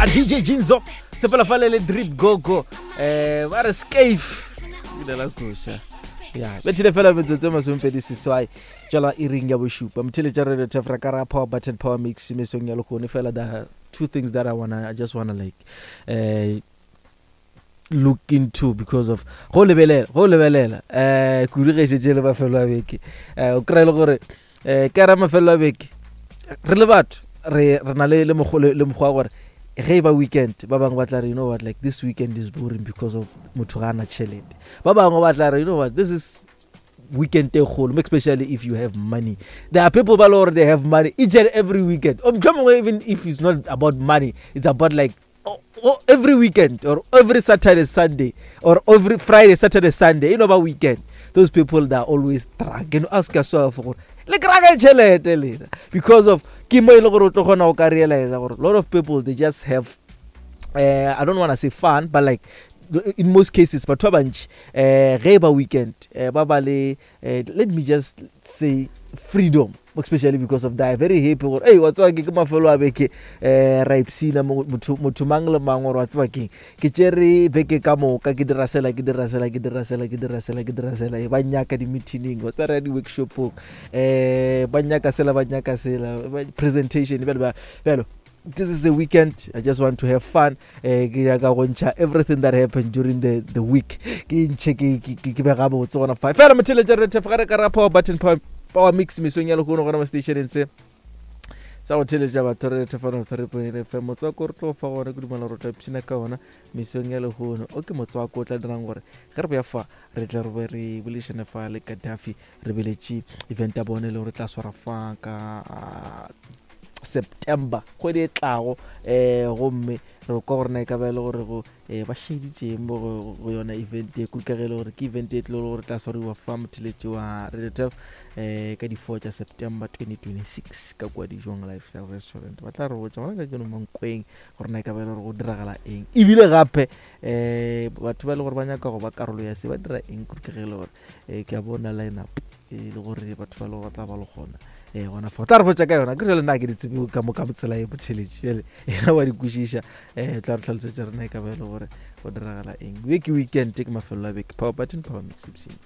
A DJ Jinzo sepela fale le Drip Gogo eh ba re scafe ile la koša ya bethile fela metsotso e masomepedi seswai tšwela iring ya bošupa motheletša radio tefra ka ra power button power mix mesong ya lekgone fela the two things that I wanna I just wanna like eh look into because of go lebelela go lebelela eh kudu ge šetse le mafelo a beke eh o kry le gore eh ka ra mafelo a beke re le batho re re na le le mokgwa le mokgwa gore ge e ba weekend ba bangwe ba tla re you know what like this weekend is boring because of motho ga ana tšhelete ba bangwe ba tla re you know what this is weekend e kgolo especially if you have money there are people ba le gore they have money each and every weekend or mohlomongwe even if it's not about money it's about like oh, oh, every weekend or every Saturday, Sunday, or every Friday, Saturday, Sunday, you know, about weekend, those people that are always drunk. You know, ask yourself, le kry-a tšhelete lena because of ke mo e le gore o tlo kgona go ka realize gore a lot of people they just have uh, I don't want to say fun but like in most cases batho ba bantši um ge e ba weekend um ba ba le eh, let me just say freedom especially because of that very happy gore ei wa tseba ke ke mafelo a beke um ra ipsina motho mang le mang gore wa tseba keng ke tšere beke ka moka ke dira sela ke dira sela ke dira sela ke dira sela ke dira sela e ba nyaka di-meetingeng wa tsaya di-workshopong um ba nyaka sela ba nyaka sela presentation bjalo bjalo this is a weekend i just want to have fun eh ke nyaka go ntšha everything that happened during the the week ke ntšhe ke ke ke be gabotse gona fa fela motheletša re thef ga re ka ra power button power, power mix mesong ya lehono gona mo stationeng se sa go theletša batho re thefana 3.8 fm motswako re tlo fa gona ke dumela gore tla ipshina ka ona mesong ya lehono o ke motswako o tla dirang gore ge re boya fa re tle re be re boledišane fa le Gaddafi re beletše event ya bone le gore tla swara fa ka September kgwedi e tlago um gomme re kwa gore na e ka ba e le gore go um ba šeditšeng mo go yona event e kudu ka ge e le gore ke event e tlo le gore tla swariwa fa motheletši wa Radio Turf um ka di-four tša September 2026 ka kua Dijong Lifestyle Restaurant ba tla re botša gona ka keno Mankweng gore na e ka ba e le gore go diragala eng ebile gape um batho ba e le gore ba nyaka go ba karolo ya se ba dira eng kudu ka ge e le gore um ke a bona line up e le gore batho ba le gore ba tla ba le gona um gona fa o tla re botsa ka yona ke jale nna ke di tsebe ka mo ka tsela e botheletše jale yena wa di kwešiša um tla re tlhalosetsa rena e ka ba e le gore go diragala eng beke weekend ke mafelo a beke power button power mix ipsene.